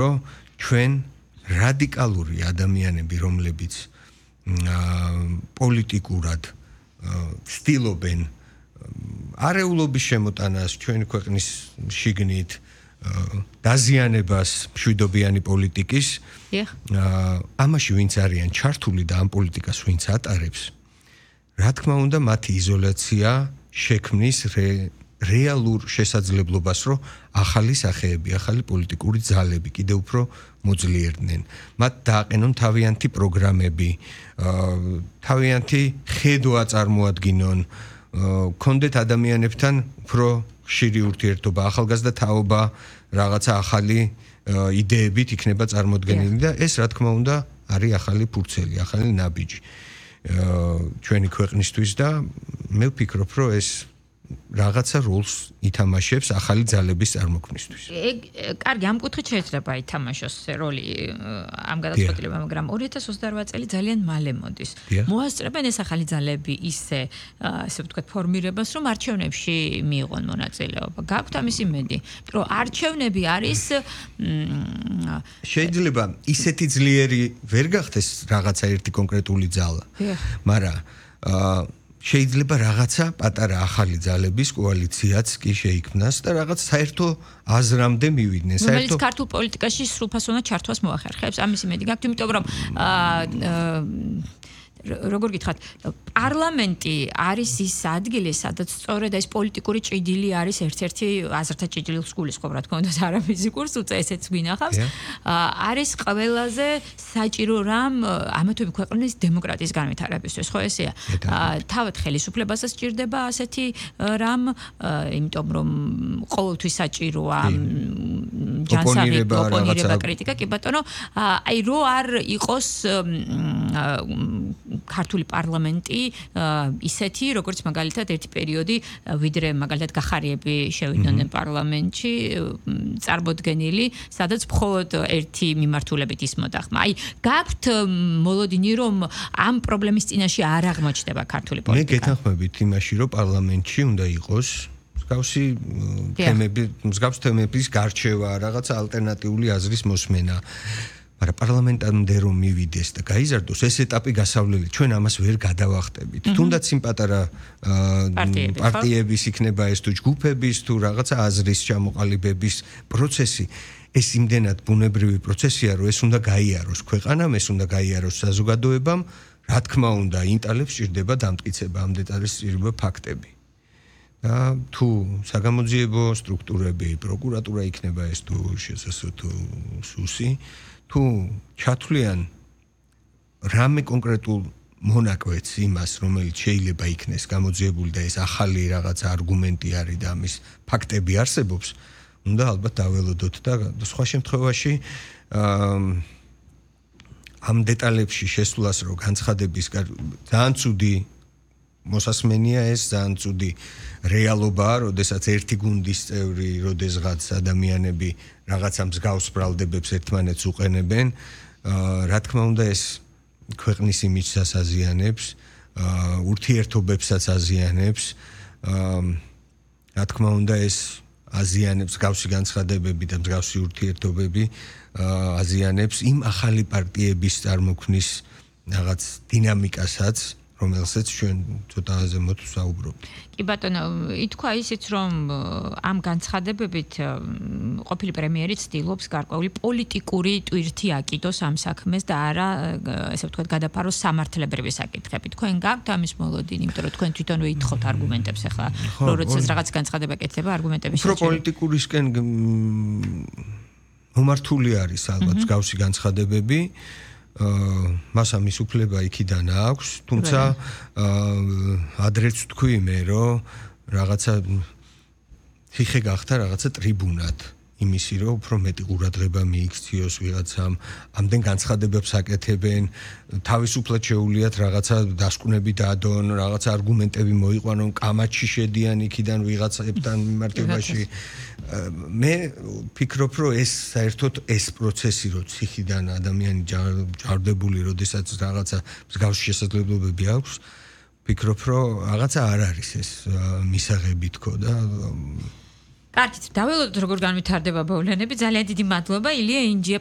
რომ ჩვენ რადიკალური ადამიანები, რომლებიც პოლიტიკურად ცდილობენ არეულობის შემოტანას ჩვენი ქვეყნის შიგნით დაზიანებას მშვიდობიანი პოლიტიკის ამაში ვინც არიან ჩართული და ამ პოლიტიკას ვინც ატარებს რა თქმა უნდა მათი იზოლაცია შექმნის რეალურ შესაძლებლობას რომ ახალი სახეები, ახალი პოლიტიკური ძალები კიდევ უფრო მოძლიერდნენ. მათ დააყენონ თავიანთი პროგრამები, თავიანთი ხედვა წარმოადგინონ, კონდეთ ადამიანებთან უფრო ხშირი ურთიერთობა, ახალგაზრდა თაობა, რაღაცა ახალი იდეებით იქნება წარმოდგენილი და ეს რა თქმა უნდა არის ახალი ფურცელი, ახალი ნაბიჯი ჩვენი ქვეყნისთვის და მე ვფიქრობ, რომ ეს რაღაცა როლს ითამაშებს ახალი ძალების წარმოქმნისთვის. კარგი, ამ კუთხით შეიძლება ითამაშოს როლი ამ გადაწყვეტილებამ, მაგრამ 2028 წელი ძალიან მალე მოდის. მოასწრებენ ეს ახალი ძალები ისე ვთქვათ ფორმირებას, რომ არჩევნებში მიიღონ მონაწილეობა. გაქვთ ამის იმედი, რომ არჩევნები არის შეიძლება ისეთი ძლიერი ვერ გახდეს რაღაცა ერთი კონკრეტული ძალა. მაგრამ შეიძლება რაღაცა პატარა ახალი ძალების კოალიციაც კი შეიქმნას და რაღაც საერთო აზრამდე მივიდნენ. საერთო ქართულ პოლიტიკაში სრულფასოვნად ჩართვას მოახერხებს. ამის იმედი გაქვთ, იმიტომ რომ როგორ გითხრათ, პარლამენტი არის ის ადგილი, სადაც სწორედ ეს პოლიტიკური ჭიდილი არის ერთ-ერთი აზრთა ჭიდილს გულისხმობ, რა თქმა უნდა, არა ფიზიკურს, უწე ესეც გვინახავს. არის ყველაზე საჭირო რამ ამა თუ იმ ქვეყნის დემოკრატიის განვითარებისთვის, ხო ესეა? თავად ხელისუფლებასაც ჭირდება ასეთი რამ, იმიტომ რომ ყოველთვის საჭიროა ჯანსაღი ოპონირება, კრიტიკა, კი ბატონო, აი რო არ იყოს ქართული პარლამენტი ისეთი, როგორც მაგალითად ერთი პერიოდი, ვიდრე მაგალითად გახარიები შევიდნენ პარლამენტში, წარმოდგენილი, სადაც მხოლოდ ერთი მიმართულებით ისმოდა ხმა. აი, გაქვთ მოლოდინი, რომ ამ პრობლემის წინაშე არ აღმოჩნდება ქართული პოლიტიკა. მე გეთანხმებით იმაში, რომ პარლამენტში უნდა იყოს მსგავს თემების გარჩევა, რაღაცა ალტერნატიული აზრის მოსმენა. მაგრამ პარლამენტამდე რომ მივიდეს და გაიზარდოს ეს ეტაპი გასავლელი, ჩვენ ამას ვერ გადავახტებით. თუნდაც იმ პატარა პარტიების იქნება ეს თუ ჯგუფების თუ რაღაცა აზრის ჩამოყალიბების პროცესი, ეს იმდენად ბუნებრივი პროცესია, რომ ეს უნდა გაიაროს ქვეყანამ, ეს უნდა გაიაროს საზოგადოებამ, რა თქმა უნდა, ინტელექტს სჭირდება დამტკიცება, ამ დეტალებს სჭირდება ფაქტები. და თუ საგამოძიებო სტრუქტურები, პროკურატურა იქნება ეს თუ შესაძლო თუ სუსი თუ ჩათვლიან რამე კონკრეტულ მონაკვეთს იმას, რომელიც შეიძლება იქნეს გამოძიებული და ეს ახალი რაღაცა არგუმენტი არის და ამის ფაქტები არსებობს, უნდა ალბათ დაველოდოთ და სხვა შემთხვევაში ამ დეტალებში შესვლას რო განცხადების ძალიან ცუდი მოსასმენია ეს ძალიან ცუდი რეალობაა, როდესაც ერთი გუნდის წევრი, როდესღაც ადამიანები რაღაცა მსგავს ბრალდებებს ერთმანეთს უყენებენ, რა თქმა უნდა ეს ქვეყნის იმიჯსაც აზიანებს, ურთიერთობებსაც აზიანებს, რა თქმა უნდა ეს აზიანებს მსგავსი განცხადებები და მსგავსი ურთიერთობები აზიანებს იმ ახალი პარტიების წარმოქმნის რაღაც დინამიკასაც, რომელსაც ჩვენ ცოტა ზემოთ ვსაუბრობთ. კი ბატონო, ითქვა ისიც, რომ ამ განცხადებებით ყოფილი პრემიერი ცდილობს გარკვეული პოლიტიკური ტვირთი აკიდოს ამ საქმეს და არა, ესე ვთქვათ, გადაფაროს სამართლებრივი საკითხები. თქვენ გაქვთ ამის მოლოდინი, იმიტომ რომ თქვენ თვითონვე ითხოვთ არგუმენტებს ახლა, როდესაც რაღაც განცხადება კეთდება, არგუმენტების შეჭრა. პოლიტიკურისკენ მომართული არის ალბათ მსგავსი განცხადებები. მას ამის უფლება იქიდან აქვს, თუმცა ადრეც თქვი მე, რომ რაღაცა ხიხე გახდა რაღაცა ტრიბუნად იმისი, რომ უფრო მეტი ყურადღება მიიქციოს ვიღაცამ, ამდენ განცხადებებს აკეთებენ, თავისუფლად შეუულიათ რაღაცა დასკვნები დადონ, რაღაცა არგუმენტები მოიყვანონ, კამათში შედიან იქიდან ვიღაცებთან მიმართებაში. მე ვფიქრობ, რომ ეს საერთოდ ეს პროცესი, რო ციხიდან ადამიანი ჯარდებული, როდესაც რაღაცა მსგავსი შესაძლებლობები აქვს, ვფიქრობ, რომ რაღაცა არ არის ეს მისაღები თქო და კარგით, დაველოდოთ როგორ განვითარდება მოვლენები. ძალიან დიდი მადლობა ილია ინჯია